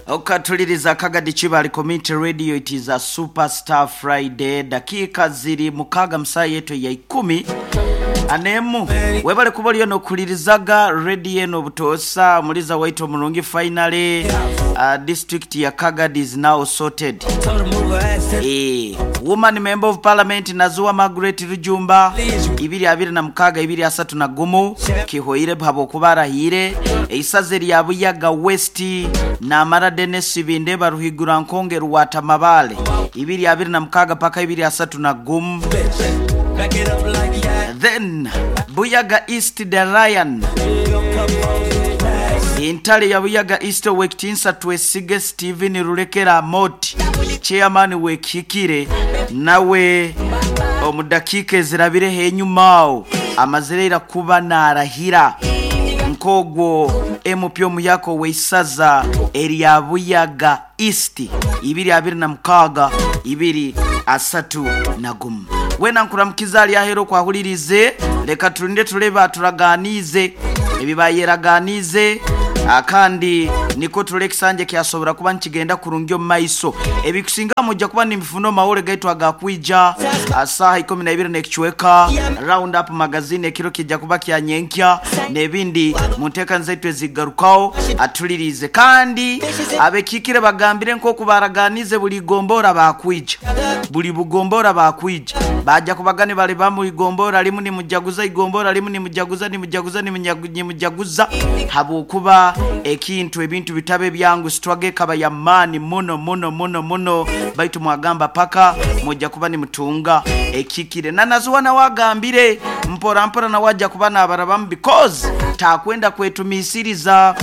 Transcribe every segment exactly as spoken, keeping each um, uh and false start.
Okatuliriza Kagadi Kibali Community Radio. It is a Superstar Friday. Dakika ziri mukaga msaa yetu ya ikumi anemu. Webale kuba oliyo nokulirizaga radio eno obutosa muliza waito mulungi. Finally, uh, district ya Kagadi is now sorted. Eh, woman member of parliament Nazuwa Margaret Rujumba ibiri abiri na mukaga ibiri asatu na gumu kihoire bhabo kubarahire eisaze lya Buyaga West na Mara Dennis Binde baruhigura nkonge ruwata mabale ibiri abiri na mukaga paka ibiri asatu na gumu. Then Buyaga East the Ryan Intale ya Buyaga East wekitinsa twesige Steven Rulekera Moti chairman wekikire nawe omudakika ezirabire henyumao amazirera kuba narahira nkogwo M P omuyako weisaza erya Buyaga East ibiri abiri na mukaga ibiri asatu na gumu. Wena nkuramukiza ali ahero kwahulirize, leka tulinde tuleba turaganize ebibayeraganize akandi niko tulekisanje kyasobora kuba nkigenda kurungyo maiso ebikusinga mujja kuba nimifuno mawole gaitu agakwija asaha ikumi na ibiri nekichweka round up magazine ekiro kijja kuba kyanyenkya nebindi munteka nzaitu ezigarukao atulirize kandi abekikire bagambire nko kubaraganize buli gombora bakwija buli bugombora bakwija baja kubagane bale bamu igombora limu ni mujaguza igombora limu ni mujaguza ni mujaguza ni mujaguza habukuba ekintu ebintu bitabe byangu sitwage kaba ya mani muno muno muno muno baitu mwagamba paka mujja kuba ni mutunga ekikire na nazuwa na wagambire mpora mpora na waja kuba na abarabamu because takwenda kwetumisiriza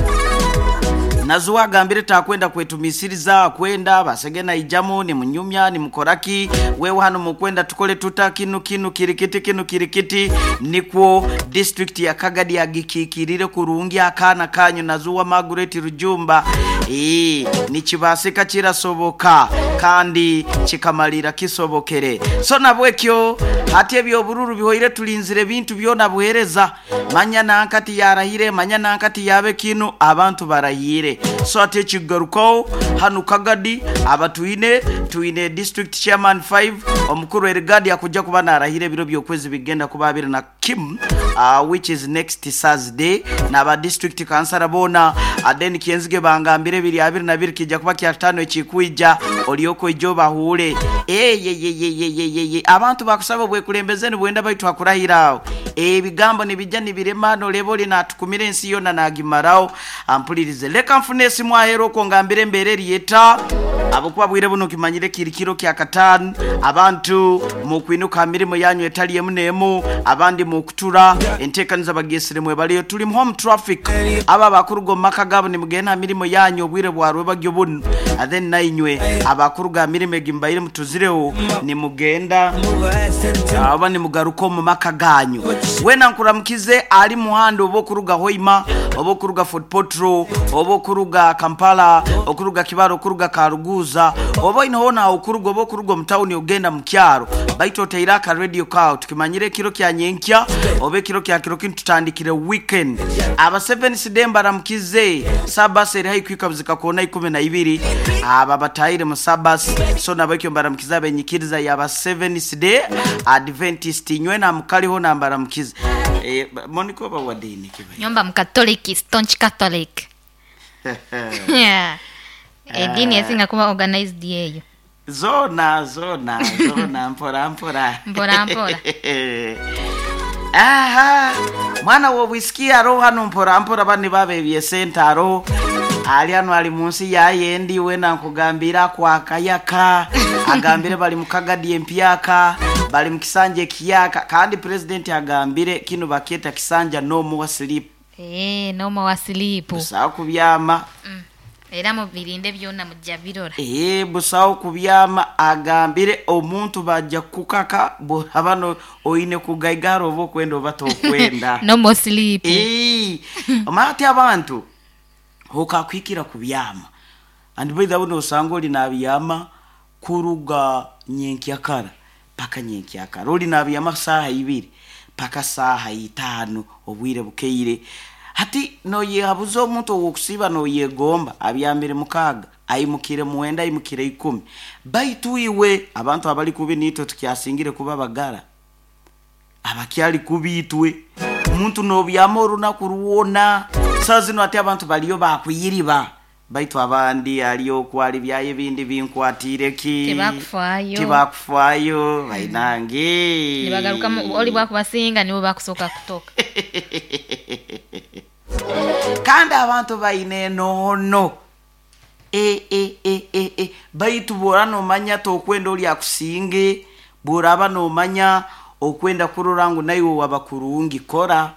nazuwa agambire takwenda kwetumisiriza kwenda basegena ijamu ni munyumya ni mukoraki wewe hano mukwenda tukole tuta kinu kinu kirikiti kinu kirikiti nikwo district ya Kagadi yagikikirire kurungi akana kanyu Nazuwa Margaret Rujumba eh nikibasika kirasoboka kandi kikamalira kisobokere. So nabwekyo hati ebyo bururu bihoire tulinzire bintu byona buhereza manya nankati yarahire manya nankati yabe kinu abantu barahire. So ate kigaruko hanu Kagadi abatuine tuine district chairman five omukuru Erigadi akujja kuba narahire biro byokwezi bigenda kuba abiri na Kim uh, which is next Thursday na ba district councilor bona aden kienzige bangambire biri abiri na biri kijja kuba kya tano ekikuija olioko ijo bahule eh ye ye ye ye ye ye abantu bakusaba bwekulembezeni bwenda baitu akurahirao ebigambo nibijja nibirema no leboli natukumire ensi yona nagimarao ampulirize leka nfune esimu ahero ko ngambire embere yeta abokuba bwire buno kimanyire kirikiro kya katanu abantu mu kwinuka mirimo yanyu etali emunemu abandi mu kutura entekaniza bagesire mwe baliyo tuli mu home traffic aba bakurugo maka gabo ni mugena mirimo yanyu obwire bwarwe bagyo buno and then nainywe abakuruga mirimo egimbayire mutuzireho ni mugenda aba ni mugaruko mu maka ganyu wena nkuramukize ali muhando obo kuruga Hoima obo kuruga Fort Potro obo kuruga Kampala okuruga Kibaro okuruga Karuguza obo inhona okuruga obo kuruga mtauni ogenda mukyaro baito teiraka radio ka tukimanyire kiro kya nyenkya obe kiro kya kiro kintu tutandikire weekend aba seven sidemba ramukize sabas eri hayi kwika kona ikumi na ibiri aba batayire mu sabas so nabakyo mbaramukiza benyikiriza yaba seven side Adventist nywe na mukaliho na mbaramukize eh Monica ba wadini kiba nyomba mkatoliki staunch Catholic. Yeah, edini yasinga kuba organized yeyo zona zona zona mpora mpora mpora mpora. Aha mwana wo wisikia roho hano mpora mpora bani babebye sentaro ali hano ali munsi yayendi wena nkugambira kwa kayaka agambire bali mukagadi empyaka bali mukisanje kiyaka kandi president agambire kino baketa kisanja no more sleep. Eh no more sleep busawo kubyama mm. Era mu birinde byona mujja birora eh busawo kubyama agambire omuntu bajja kukaka abano oine kugaigaro obo kwenda oba tokwenda no more sleep. Eh omati abantu hokakwikira kubyama and by the way osanga oli nabyama kuruga nyenkyakara paka nyenkyakara oli nabyama saha ibiri paka saha itano obwire bukeire Hati noyehabuza omuntu owokusiiba noyegomba abyamire mukaaga aimukire muwenda aimukire ikumi baitu iwe abantu abali kubi nitwe tukyasingire kuba bagara abakyali kubi itwe omuntu nobyama orunaku rwona saa zino ati abantu baliyo bakuyiriba baitu abandi aliyo okwali byayo ebindi binkwatire ki Tebakufaayo. tebakufaayo bainange Nibagarukamu oli bwakubasinga nibo bakusooka kutoka. Kandi abantu baine enono e, e, e, e, e. Baitu bwora nomanya tokwenda oli akusinge bworaba nomanya okwenda kurora ngu naiwe waba kurungi kora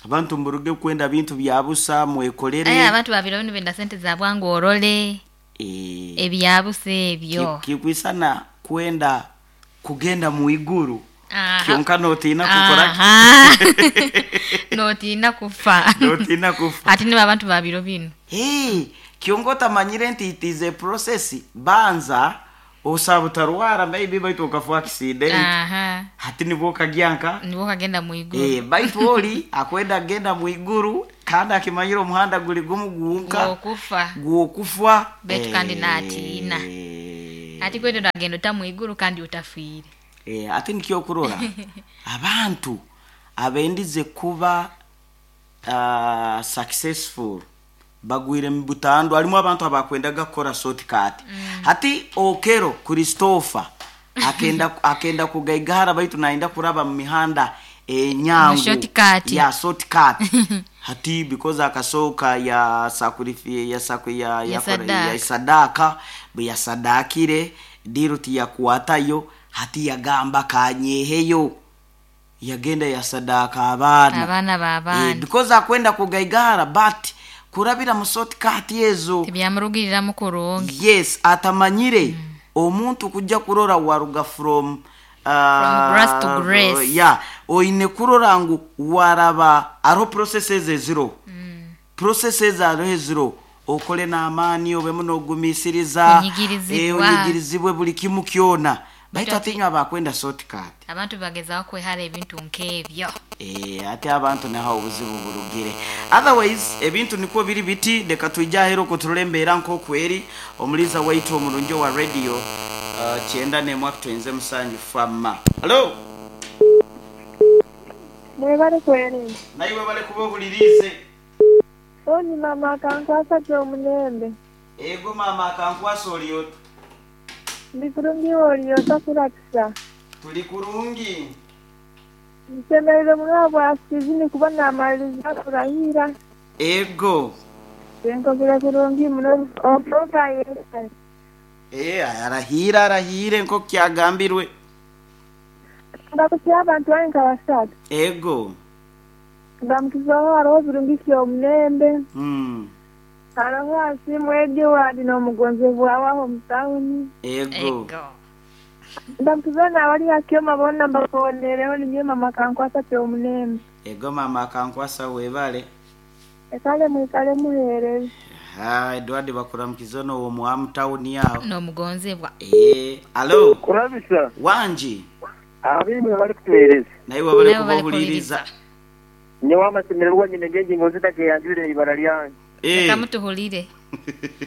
abantu mburuge kwenda bintu bya busa mwekolere. Aye abantu babiro bino benda sente za bwangu orole e, ebyabusa ebyo. Kikwisana kwenda kugenda mu iguru Aha. kyonka notiina kukora Aha. Notiina kufa. Notiina kufa. Ate nibo abantu babiro bino. Hey, kyonka otamanyire nti it is a process banza osaba otarwara maybe baitu okafa accident. Aha. Hati nibwo okagyanka Nibwo kagenda mu iguru. eh, baitu oli akwenda genda mu iguru kandi akimanyire omuhanda guli gumu gwonka Gwokufa. gwokufa. Baitu kandi natiina. Ati kwete nagenda ota mu iguru kandi otafiire. Eh, ate nikyo okurora abantu abendize kuba uh, successful bagwire mu butandu harimu abantu abakwendaga kukora shortcut mm. Hati Okero Christopher akenda akenda kugaigara baitu naenda kuraba mu mihanda enyangu Mu shortcut. ya shortcut hati because akasoka ya sacrifice ya saku ya Ya ya, sadaka. ya sadaka bwe yasadakire diru tiyakwatayo hati yagamba kanyeheyo yagenda yasadaka abaana Abaana eh, b'abaana. because akwenda kugaigara but kurabira mu shortcut ezo Tibyamurugiriramu kurungi. yes atamanyire mm. Omuntu kujja kurora waruga from uh, From grass to grace. yeah oine kurora ngu waraba ariho processes eziro mm. Processes ariho eziro okole n'amaani obemu n'ogumiisiriza Onyigirizibwa. eh, onyigirizibwe buli kimu kyona baitu atinywa abakwenda shortcut. Abantu bagezaho kwehara ebintu nk'ebyo. Eh, ate abantu naho obuzibu burugire otherwise ebintu nikwo biri biti leka twije ahera okwo turore embeera nk'okweri omuliza waitu omurungi wa radio uh, kyenda n'emwe akutwenze musanju fama halo. Mwebale kwerinda. Naiwe bale kuba ohulirize. Oni mama akankwasa ky'omulembe. Ego mama akankwasa oliota. Ndi kurungi oliota kurakisa. Tuli kurungi. Nsemerere muno bwa sizini kuba namaliriza kurahira. Ego. Tenkogera kurungi muno oproka yesa. Eh, arahira arahire nko kyagambirwe. Ndakutya abantu bange nka basatu. Ego. Ndamukizaho hariho birungi ky'omulembe. Mm. Hariho Asiimwe Edward n'omugonzebwa waho mu tawuni. Ego. Ego. Ndamukizaho n'abali hakyoma bonna mbakonereho ninye mama akankwasa ky'omulembe. Ego mama akankwasa webale. Ekale mwikale muhereze. Ha, Edward bakuramukiza no wo mu town yaho. N'omugonzebwa. Eh, alo. Kurabisa. Wanji. Abimwe bali kutuhereza. Naiwe bale Naiwe bali kubahuliriza. Nyewe amasemererwa nyine ngengingo zitakeyanjurire ibara lyange. Eh. Reka mutuhulire.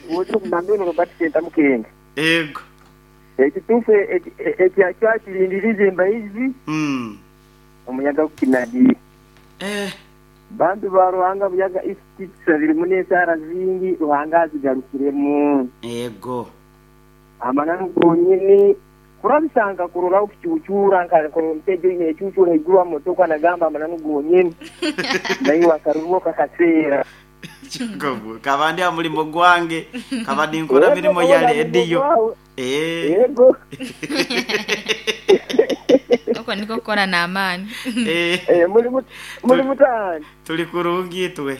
Wote kumambino Robert Senta Mukenge. Ego. Ekituufu ekyakyakirindiriza embayizi Mm. omuyaga gukinagi. Eh, Bantu ba Ruhanga buyaga isitisa birimu n'ensaara zingi Ruhanga azigarukiremu. Ego. Amananu gonyini kurabisanga kuroraho kukyukyura nkamutejo ine ekyukyura iguru amotoka nagamba amananu gonyini. Naye akarurwo kakaseera. Kikabu kabandi amulimo gwange kabandi nkora mirimo ya radio. Eh. Yego. Uko niko kukora n'amaani. Eh. Eh, muri muri mutani. Tuli kurungi twe.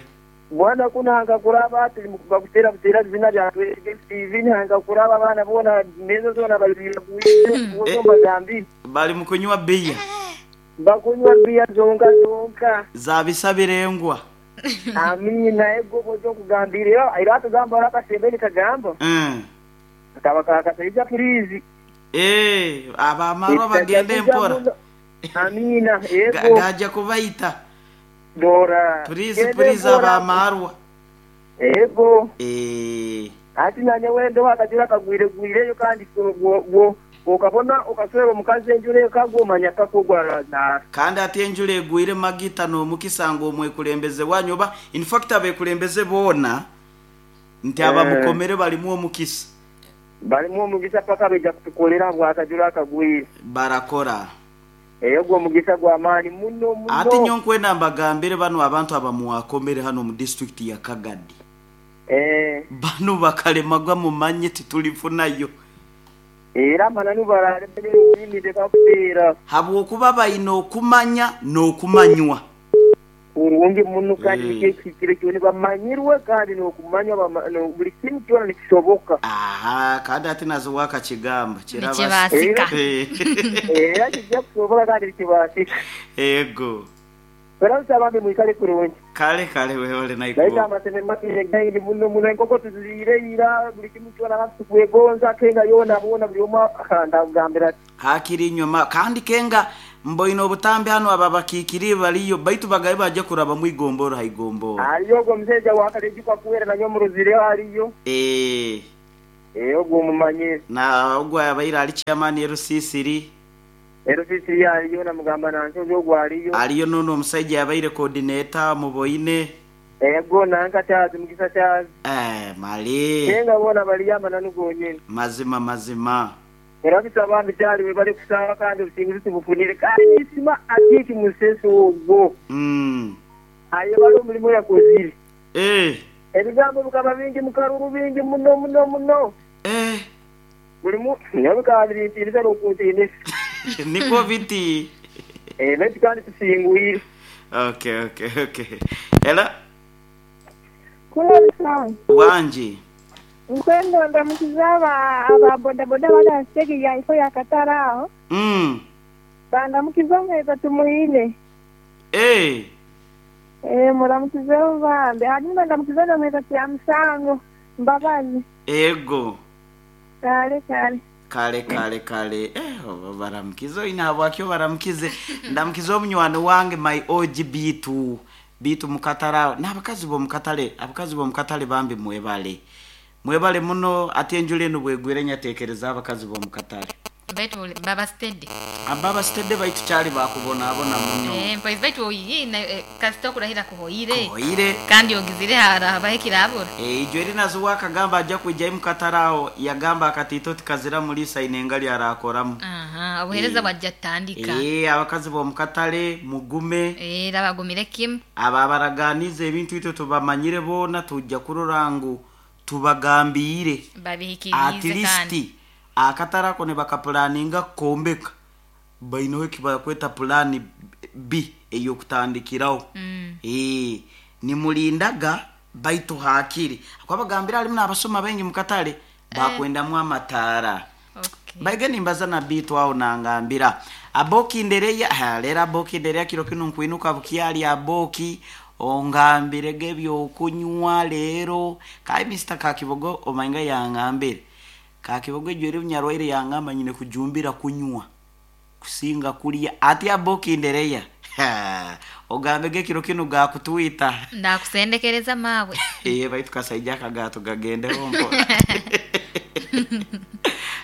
Bwana kunanga kuraba tuli mukubakutera butera zina lya T V nanga kuraba abana bona mezo zona balira kuize kuzo bagambi. Bali mukunywa biya. Bakunywa biya zonka zonka. Zabisabirengwa. Amina ego bozo kugambira era atugamba rakasembeni kagamba. Mm. Akaba kakasaiza purizi. Eh, abamarwa bagende mpora. Amina ego. Gaja kubaita. Dora. Please please abamarwa. Ego. Eh. Ati nanye wendo wakajura kagwire gwireyo kandi gwo ukabona ukaswera omukazi enjure kagomanya kakogwa na kandi ati enjure egwire magita no mukisango omwekulembeze wanyu oba in fact abekulembeze bona nti aba Eh. mukomere balimu omukisa balimu omugisa paka beja kutukolera bwakajura kagwire barakora eyo gwo omugisa gwa maani muno muno ati nyonkwenda mbagambire bano abantu abamuwakomere hano mu district ya Kagadi eh bano bakalemagwa mumanye titulifunayo era mananu baralebere yimide kakuteera habwokuba bayina okumanya n'okumanywa urungi muno kandi Eh. nikekikire kyoni bamanyirwe kandi n'okumanywa bama- no- buli kimu kyona nikisoboka aha kandi ati nazo wakakigamba kirabasi Nikibasika. era kijja kusoboka kandi nikibasika ego era nsaba mbi mwikale kurungi kale kale wewale naye naikuwa amaseme makire gaini muno muno enkoko tuzireira buli kimu kyona tukwegonza kenga yona bona buli omu ndakugambira ati hakiri inyuma kandi kenga mboine obutambi hano aba bakiikiri baliyo baitu bagaye bajja kuraba mwigomboro haigomboro aliyo ogwo omusajja wakalejukwa kuwera nanyo muruzire aliyo eh eh ogwo omumanyire na ogwo abaire ali chairman erusisiri erusisiri aliyo namugamba nansozi ogwo aliyo aliyo nono omusajja abaire coordinator muboine ego nanka kyazi mugisa kyazi eh mali kenga bona baliyo amananu gonyene mazima mazima era bisaba mbi kyali we bali kusaba kandi obusinguzi tubufunire kandi nisima atiiki musese ogwo mm aye bali omulimu yakozire eh ebigambo bikaba bingi mukaruru bingi muno muno muno eh buli naye bikaba birintiinisa n'okuntiinisa niko biti Eh, baitu kandi tusingwire okay okay okay ela Kulabisa. wanje Nkwendo ndamukiza aba aba bodaboda bali stage ya ifo ya Katara aho. mm Bandamukiza mweza tumuine. eh Eh muramukize bambe. Hanyuma ndamukiza na mweza kya musango. Mbabazi. ego Kale kale. kale kale kale eh baramukize ina bwakyo baramukize ndamukize omunywani wange my O G bitu bitu mukatara n'abakazi bo mukatale abakazi bo mukatale bambi mwebale mwebale muno ati enjula eno bwegwire nyatekereza abakazi bo mukatale baitu baba steady ababa stede baitu kyali bakubonaabona muno eh mpoizi baitu oyina eh, kasita okurahira kuhoire oire kandi ogizire harabaho ekirabura ijo eri nazo wakagamba ajja kwijjayo mukatale yagamba akatiito tikazira mulisa inengali arakoramu aha obuhereza Eh. bwajja tutandika Eh, abakazi b'omukatale mugume era bagumire kimu aba abaraganiza ebintu itwe tubamanyire boona tujja kurora ngu tubagambire at babihikirize least kandi akatale ako ne bakapulaninga kukombeka bainaho ekibakweta pulani B ey'okutandikiraho Mm. Eh, nimulindaga baitu hakiri akwabagambira alimu n'abasoma baingi mukatale bakwendamu amataara okay baige nimbaza na bitu awo nangambira aboki ndereya ha, lero aboki ndereya kiro kino nkwinuka bukyali aboki ongambirege ebyokunywa leero kai Mister Kakibogo omainga yangambire Kakibogo ejo eri bunyarwaire yangamba nyine kujumbira kunywa kusinga kulya ati aboki ndereya Ha, ogambege kiro kino gakutwita ndakusendekereza mawe eh baitu kasaija akagato gagendeho mpora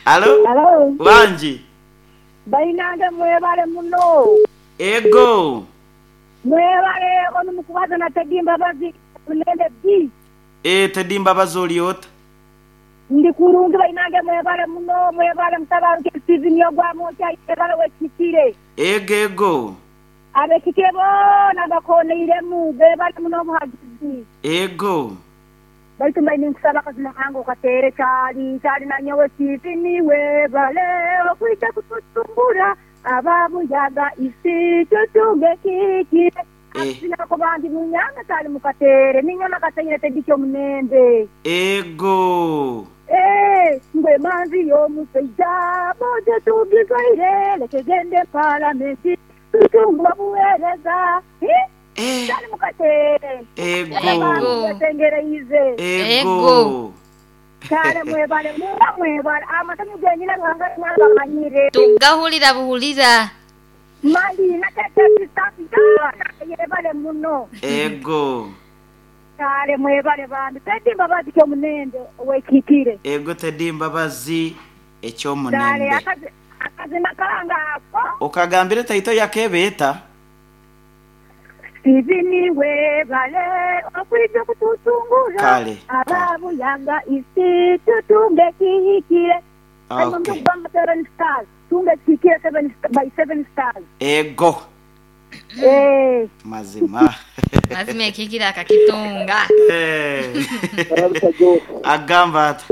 alo Hello. wanji Bainange mwebale muno. ego Mwebale ono mukubaza na Teddy Mbabazi nende B. e Teddy Mbabazi oliota Ndi kurungi bainange mwebale muno mwebale mutabaruke Steven yogwa mocha mwebale wekikire. ego ego Abekikire bona bakoneiremu bebale muno obuhagizi. ego Baitu mbaine nkusaba akazima kange okatere kyali kyali nanyowe Steven webale okwita kututumbura ababuyaga isi tutunge kiki Eh. sinako bandi munyanga tali mukatere ninyama kateire tedikyo munembe ego Eh, ngwe manzi y'omusajja boje tugizaire lekegende palamenti tutungwa buweereza Eh, eh tali mukatere ego Ego. yatengereize ego Ego. kale mwebale muba mwebale amasanyu genyina ruhanga mwabamanyire tugahulira buhulira Mali nakatatisafi yebale muno. Ego. Kale mwebale bantu. Teddy Mbabazi kyomunende wekikire. Ego Teddy Mbabazi Kale ekyomunende. akazi akazina kanga ako. Okagambire taito yakebeta. Steven webale okwija kututungura. Kale. Ababuyaga isi tutunge kihikire. Okay. Seven stars. Tunge kihikire seven by seven stars. Ego. Eh. Mazima. Mazima ekikira akakitunga. Eh. Agamba ati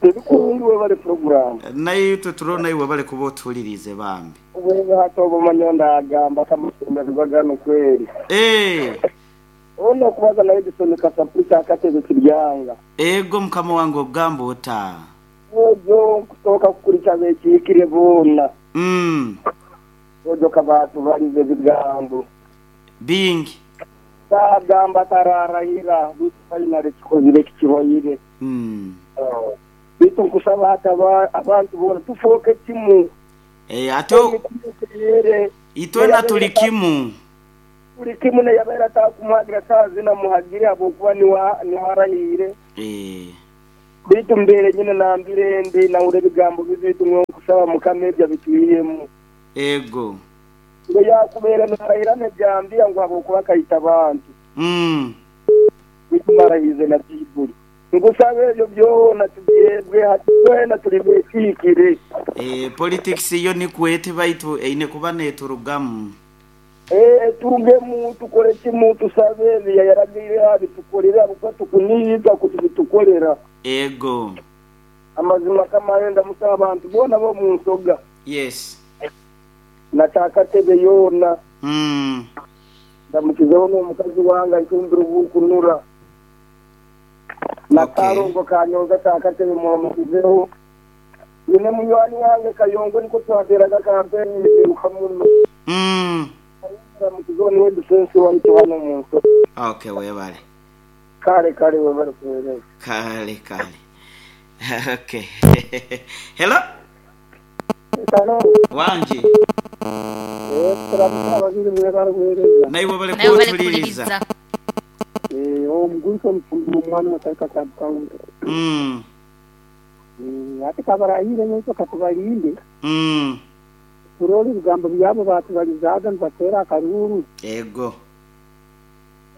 Ebikulungi bali program. Naye tuturo naye wabale kuba otulirize bambi. Wewe hata obumanyo ndagamba kamusomero gano kweri. Eh. Ono kubaza naye bisomeka sapulisa akatebe kiryanga. Ego mukama wange ogamba ota. Ojo kutoka kukulicha bekikire bona. Mm. Ojo kabatu balize bigambo. Bingi. Sagamba tararahira bifainale kikozire kikihoyire. Mm. Bitu nkusaba hata abantu bona tufoke timu. Eh ato itwena tulikimu. Tulikimu ne yabera takumwagira sazi na muhagire abo kuba ni wa ni warahire. Eh. Bitu mbere nyine nambire ndi na ure bigambo bitu nkusaba mukamebya bituyemo. Ego. Ngo yakubera narahira ne byambira ngo abo kuba kayita abantu. Mm. Bitu marahize na Bibuli. Ngusabe ebyo byona tubyebwe hatwena tuli bwekikire. Eh politics yo ni kwete baitu eine kuba neturugamu. Eh turugemu tukore kimu tusabe ya yaragire abitukorera abuko tukuniza kutubitukorera. Ego. Amazima kama yenda musaba abantu bona bo mu nsoga. Yes. Nataka tebe yona. Mm. Ndamukizeho n'omukazi wanga nkumbira ubukunura. Nakarongo kanyoza takatebe muhamukizeho. Nyine munywani wange Kayongo niko twateraga kampeni ukamuno. Mm. Ndamukizeho niwe defense waitu hano mu nso. Okay, webale. Kale kale webale kuwereza. Kale kale. Okay. Hello? Hello. Wanji. Eh, turamusaba babiri mwebale kuwereza. Naye webale kuwuliriza. Eh, omuguso mufumbi omwana watarika kabukaunti. Mm. Mm, ate kabarahire n'ekyo katubalinde. Mm. Turole ebigambo byabo batubalizaga nibatera akaruru. Ego.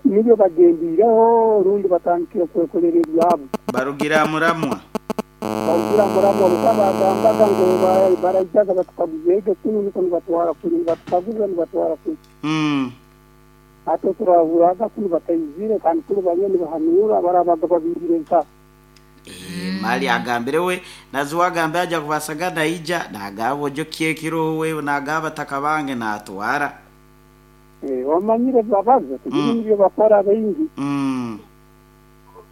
Nibyo bagendireho rundi batandikire kwekolera ebyabo. Barugira muramwa. Barugira muramwa bagambaga ngo barajyaga batukaguze kunu niko nibatwara kuri batukaguza nibatwara kuri. Mm. Ate turahuraga kunu batayizire kandi kuri bamwe nibahanura barabaga babirire nka. Eh, mali agambire we nazuwa agambe aja kubasaga naija nagabo jo kyekiro we nagaba takabange natwara. Eh, wamanyire babaza kugira bakora bingi. Mm.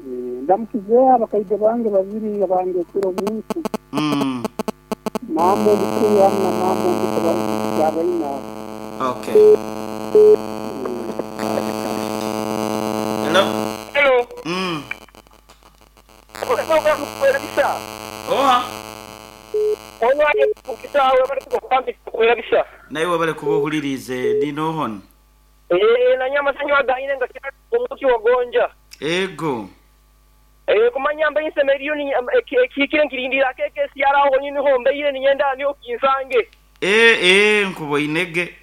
Eh, ndamukize abakaide bange babiri abange kiro munsi. Mm. Mama mukuru na mama mukuru yabaina. Okay. Hello. Hello. Mm. Oha. Naye wabale kubuhulirize dino hon. Eh na nyama sanyo agayine nga omuki wagonja. Ego. Eh kumanya mbe insemeriyo ni ekikire nkirindira keke siara aho nyini ho mbeire ninyenda niyo kinsange. Eh eh nkubo inege.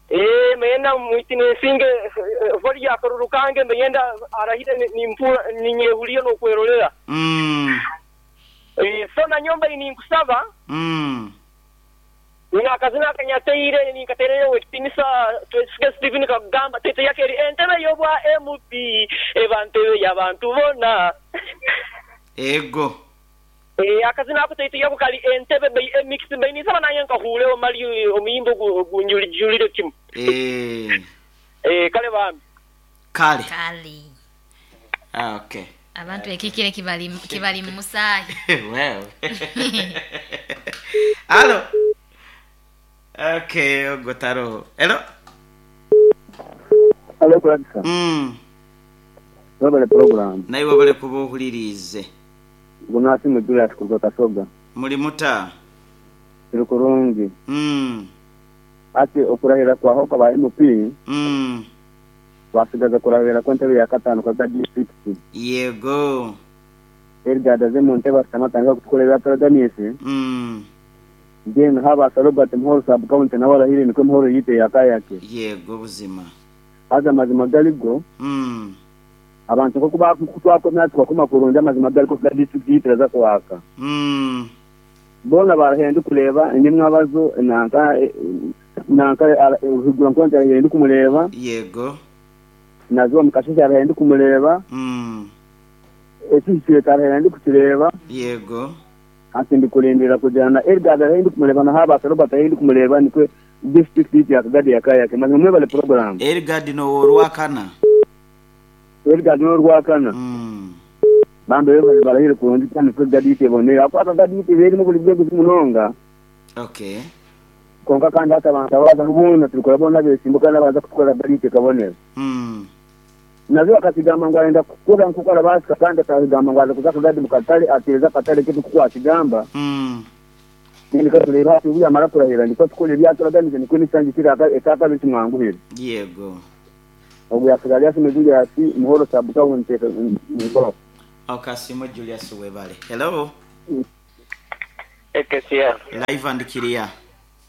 Eh mena mwitine singe voli akarurukange mbenyenda arahire ni mpura ninyehuliyo no kwerolera. Mm. Eh so na nyomba ini nkusaba. Mm. Nina akazina kanyateire ni katerere wetinisa twesige Steven kagamba tete yake eri entebe yobwa M P ebantebe yabantu bona. Ego. Eh akazina ako tete yako kali entebe be mix be ni sama nayenka hule omali omuyimbo gunjuli kimu. Eh. Eh kale bambi. Kale. Kale. Ah, okay. Abantu ekikire kibali kibali musayi. Well. Hello. Okay, ogotaro. Hello. Hello, Gladys. Mm. Wabale program. Naye wabale kubuhulirize. Gunasi mudula tukugoka soga. Muri muta. Turi kurungi. Mm. Ati okurahira kwaho kwa M P. Mm. Wasigaza kurahira kwa ntebe ya katano kwa district. Yego. Edgar aze mu ntebe asamatanga kutukolera turaganise. Mm. Then haba Robert Muhoro sub county na warahire niko Muhoro yite yakayake. Yego buzima. Aza mazima galigo. Mm. Abantu ko kuba kutwako twakoma kurunda amazima galiko kwa district yitiraza kwaka. Mm. Bona barahenda kuleba nimwe abazo nanka nanka uhigura nkonja arahenda kumureba. Yego. Nazo mukashisha arahenda kumureba. Mm. Ekisire karahenda kutireba. Yego. Ati ndikulindira kujana Edgar arahenda kumureba na haba Robert arahenda kumureba nikwe district yiti yakagadi yakayake mazima mwe bale program. Edgar no orwakana. Edgar no orwakana. Mm. Bambe bale barahire kurundi cyane kwe gadite bonera akwata gadite beri mu buli bwego munonga. Okay. Konka kandi hata abantu abaza rubona turikora bona besimbuka nabaza kutukora gadite kabonera. Mm. Nazo akasigamba ngo arenda kukora nkukora basika kandi akagamba ngo aza kuza kagadi mukatale ateza katale kitu kukwakigamba. Mm. Nindika tureba ati uya mara kurahira ndiko tukole byaturaganije niko nisangi kiraka etaka bikimwanguhira. Yego. Obu yasigalia simejulia ati Muhoro sabuka unteka ngoro. Okasimo Julius Webale. Hello. Ekesia. Live and clear.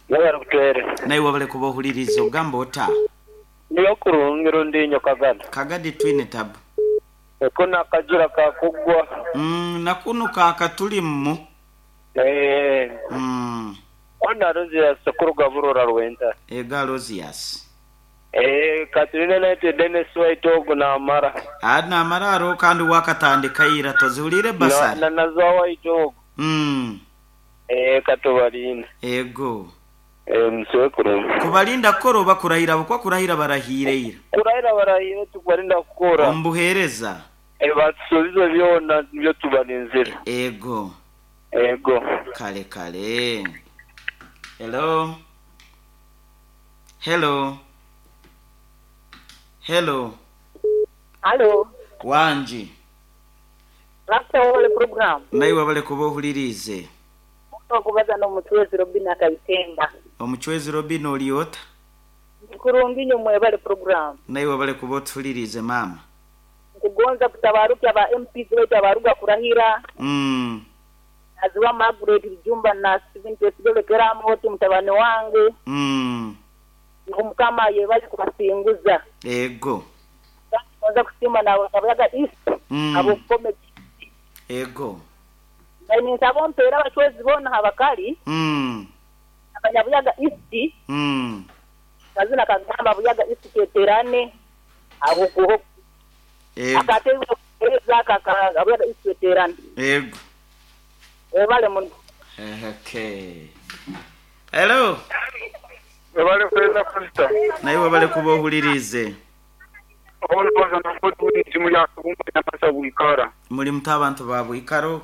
Yabara kutwere. Naye wabale kubohuliriza ogamba ota. Niyo kurungiro ndinyo kagada. Kagadi twine tab. Ekona kajura kakugwa. Mm, nakunuka akatulimu. Eh. Mm. Ona Rosias kuruga burura rwenda. Ega Rosias. Eh, Katrina naite Dennis White ogu na amara. Ana amara aro kandi wakatandika ira tozihulire basari. Na, na nazo White ogu. Mm. Eh, katubalina. Ego. Eh, msiwe kurungi. Kubalinda koro bakurahira bukwa kurahira barahire ira. Kurahira barahire tukubalinda kukora. Ombuhereza. Eh, basubizo byona byo tubalinzira. Ego. Ego. Kale kale. Hello. Hello. Hello. Hello. Wanji. Rasta wale program. Naye wabale kubohulirize. Okubaza no muchwezi Robina Kaitemba. Omuchwezi Robina oliota? Kurungi nyo mwebale program. Naye wabale kubotulirize mama. Kugonza kutabaruka ba M P wetu abaruga kurahira. Mm. Aziwa Margaret Jumba na Steven Tesigole Keramo wote mtabane wangu. Mm. Ngumkama yebali kubasinguza. Ego. Kugonza kusima na abayaga East. Mm. Abo kome. Ego. Ni nsabompera abachwezi bona habakali. Mm. Abanyabuyaga East. Mm. Kazina kagamba buyaga East keterane abo kuho. Ego. Akatewe kaka abuyaga East keterane. Ego. Ebale mun. Okay. Hello. Ebale kweza Krista. Naye wabale kubohulirize. Ono baza nakotu njimu ya kubumba nyamasa buikara. Muri mutabantu babu ikaro.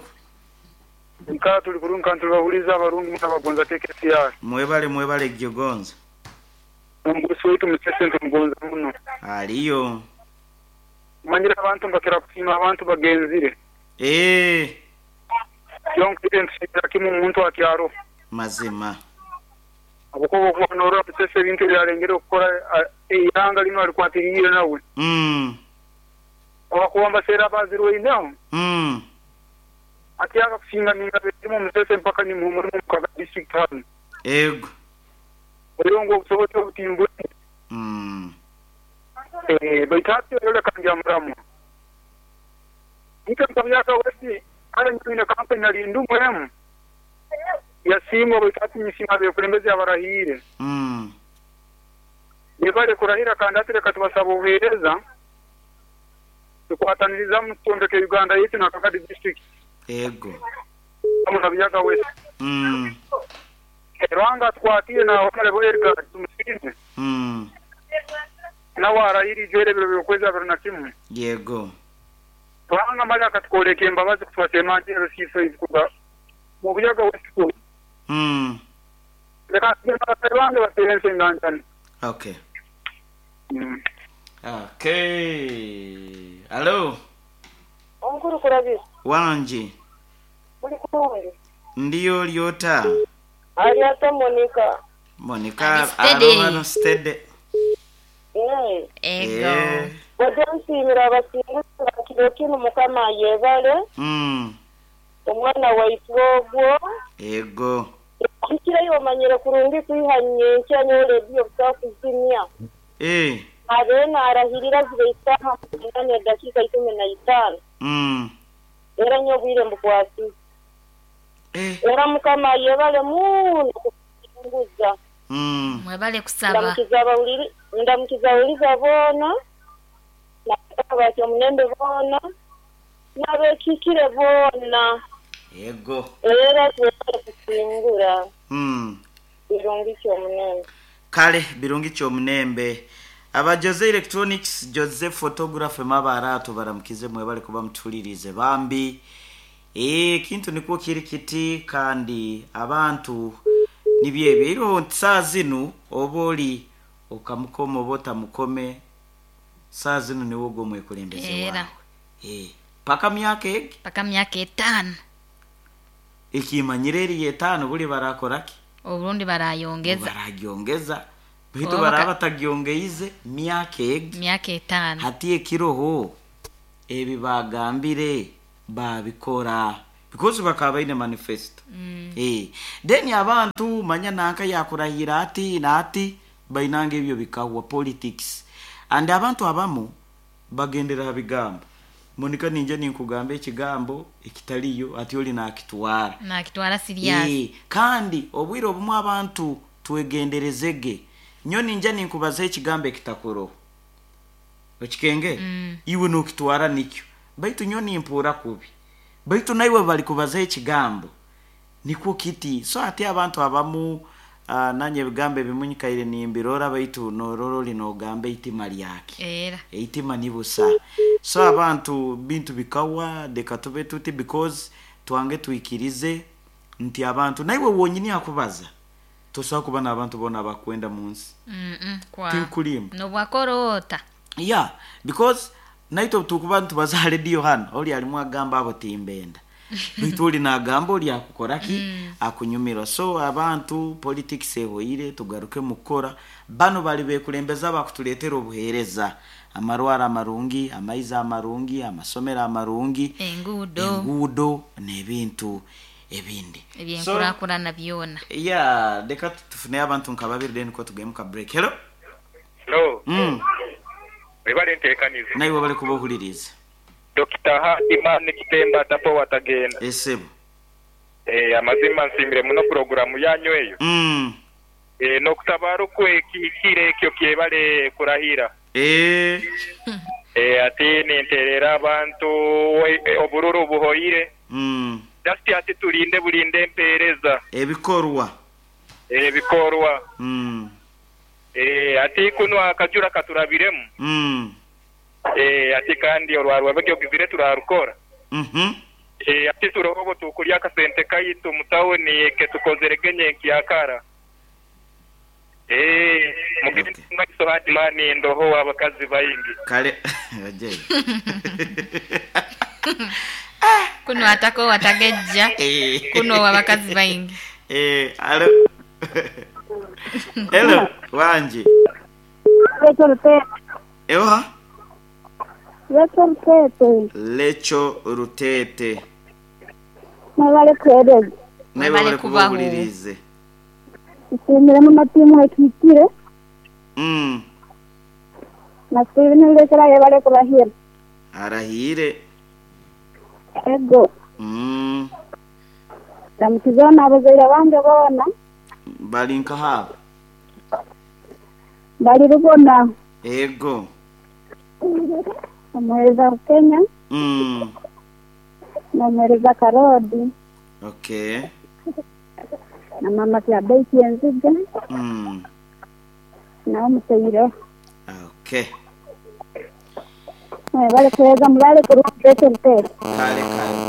Ikara tuli kurunga kantu bahuliza abarungi mutabagonza K K C R. Mwebale mwebale gyogonza. Omugusi wetu musese mugonza muno. Aliyo. Manyira abantu mbakira kusima abantu bagenzire. Eh. Yonke nshira kimu muntu akyaro. Mazima. Abukobo kubanora musese bintu byarengere okukora eyanga lino alikwatiriire nawe. Mm. Abakuwamba sera bazirwe inaho. Mm. Atiaka kusinga ninga betimu musese mpaka ni muhumuri mu kaga district hano. Ego. Oyongo obusobozi obutimbu. Mm. Eh, baitati yole kanja muramu. Nika mtabyaka wesi ala nyine kampeni ali ndumu emu. Yasimwa baitati nyisima bekulembeze abarahire. Mm. Nibale kurahira kandi atireka tubasaba obuheereza. Tukwataniriza mu tondeke Uganda yetu na Kagadi district. Ego. Amuna wese. Mm. Rwanga twatiye na honorable Edgar tumusize. Mm. Na warahiri jere biro byokweza biro na kimwe. Yego. Rwanga mali akatkoleke embabazi kutwatema njero sifa ikuba. Mu buyaga wese. Mm. Leka Rwanga baterense nganjani. Okay. Mm. Okay. Hello. Omukuru kurabisa. Wanji. Muli kulungi. Ndiyo lyota. Ali ata Monica. Monica Ali steady. arohano steady. Eh, Ego. Eh. Bode nsiimira abasinguzi kiro kinu Mukama ayebale Mm. omwana waitu ogwo Ego. kikirayo omanyire kurungi kwiha nyenkya nyowe rediyo butakuzimya Eh. abeena arahirira ziba isaaha munana edakiika ikumi na itaano Mm. era nyo obwire mbukwasize Eh. era Mukama ayebale muno kusinguza Mm. Mwebale kusaba. ndamukiza abawuliri ndamukiza abawuliza boona n'abatya omunembe boona n'abekiikire boona Ego. era twebale kusingura Mm. birungi kyomunembe Kale birungi kyomunembe. Aba Jose Electronics, Jose Photography mabarato baramukize mwebale kuba mutulirize bambi. Eh kintu nikwo kiri kiti kandi abantu nibyebyo iro saa zinu oba oli okamukoma oba otamukome saa zinu niwo gwo mwekulembeze Era. wawe. Eh paka myaka egi Paka myaka etaano. ekimanyire eri etaano buli barakoraki Oburundi barayongeza baragyongeza bitu Oba baraba baka- batagyongeize myaka egi myaka etaano. hati ekiroho ebi bagambire babikora because bakaba baine manifesto Mm. eh then abantu manya nanka yakurahira ati nati bainanga ebyo bikahwa politics and abantu abamu bagendera ha bigambo Monica ninje ninkugamba ekigambo ekitaliyo ati oli nakitwara Nakitwara serious. Eh, kandi obwire obumwe abantu twegenderezege nyo ninja ninkubaza ekigambo ekitakuroho okikenge Mm. iwe nokitwara nikyo baitu nyo nimpuura kubi baitu naiwe bali kubaza ekigambo nikwo kiti so ati abantu abamu uh, nanye ebigambo ebimunyikaire nimbirora baitu norora oli nogamba eitima lyake Era. eitima ni busa so abantu bintu bikawa leka tube tuti because twange twikirize nti abantu naiwe wonyini akubaza tosobola kuba n'abantu bona abakwenda mu nsi Mm -mm. Kwa. tinkulimba Nobwakorota. yeah because naitwe tukuba ntubaza rediyo hano oli alimu agamba abo timbenda baitu oli nagamba oli akukoraki mm. akunyumirwa so abantu politics ehoire tugaruke mukukora bano bali bekulembeza bakutuleetera obuheereza amarwaro amarungi amaizi amarungi amasomero amarungi Enguudo. enguudo n'ebintu ebindi so Ebyenkurakurana byona. yeah leka tufune abantu nka babiri then ko tugende muka break hello Hello. mm. Webale nteekanize. naiwe bali kuba ohuliriza Dokita Hadimani Kitemba tapo watagenda. esebo Eh, amazima nsiimire muno puroguramu yanyu eyo. mm. Eh, n'okutabara okwekihikire ekyo kyebale kurahira. Eh. Eh, ati ninterera abantu we- eh, obururu buhoire. Mm. Just ati tulinde bulinde empeereza ebikorwa ebikorwa. mm. Eh, ati kuno akajura katurabiremu. Mm. Eh, ati kandi orwarwa bagyogizire turarukora. Mhm. Eh, ati turoho tukurya akasente kaitu mu tawuni ketukozere genye nkiyakara. Eh, mugende Okay. maiso hadimani ndoho abakazi baingi. Kale oje. Kuno atako watagejja. Eh. Kuno abakazi baingi. Eh, alo. Hello, wanje. Lecho Rutete. Ewa? Lecho Rutete. Lecho Rutete. Mwebale kuhereza. Nawe Mwebale bali kubaho. kubahulirize. Nsiimire muno tiimu ekihikire Mm. na Steven Lulekera yebale kurahira. Arahire. Ego. Mm. Ndamukiza n'abazaire bange boona Bali nkahabo. bali Rubona Ego. omuheereza Kenya Mm. n'omuheereza Karodi Okay. na mama Kyabeiki Enziga Mm. nawe omuteire. Okay. Mwebale kuhereza mulale kurungi Lecho Rutete. Kale kale.